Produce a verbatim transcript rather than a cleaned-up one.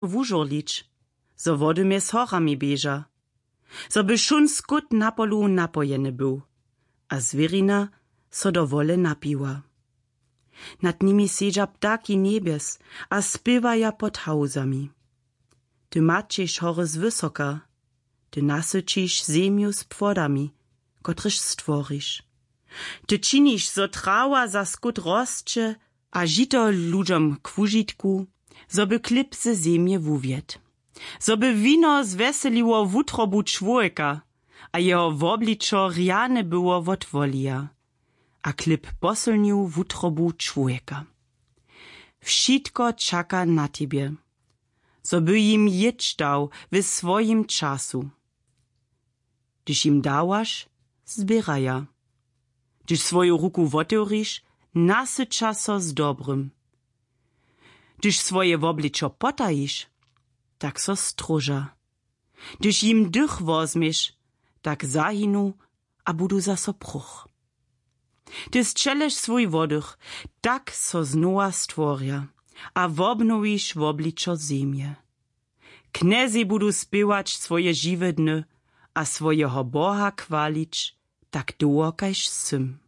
wužurlić, zo wody mjez horami běža, zo by wšón skót na polu napojeny był a zwěrina so do wole napiła. Nad nimi sedźa ptaki njebjes a spěwaja pod hałzami. Ty maćeš hory z wysoka, ty nasyćiš zemju z płodami, kotrež stworiš. Ty činiš, zo trawa za skót rosće a žito ludźom k wužitku, zo by chlěb ze zemje wuwjedł, zo by wino zwjeseliło wutrobu čłowjeka a jeho wobličo rjane było wot wolija a chlěb posylnił wutrobu čłowjeka. Wšitko čaka na tebje, zo by jim jědź dał we swojim času. Hdyž jim dawaš, zběraja. Hdyž swoju ruku wotewriš, nasyća so z dobrym. Hdyž swoje wobličo potajiš, tak so stróža. Hdyž jim dych wozměš, tak zahinu a budu zaso próch. Ty sćeleš swój wodych, tak so znowa stworja a wobnowiš wobličo zemje. Knjezej budu spěwać swoje žiwe dny a swojeho Boha chwalić tak dołho kaž sym.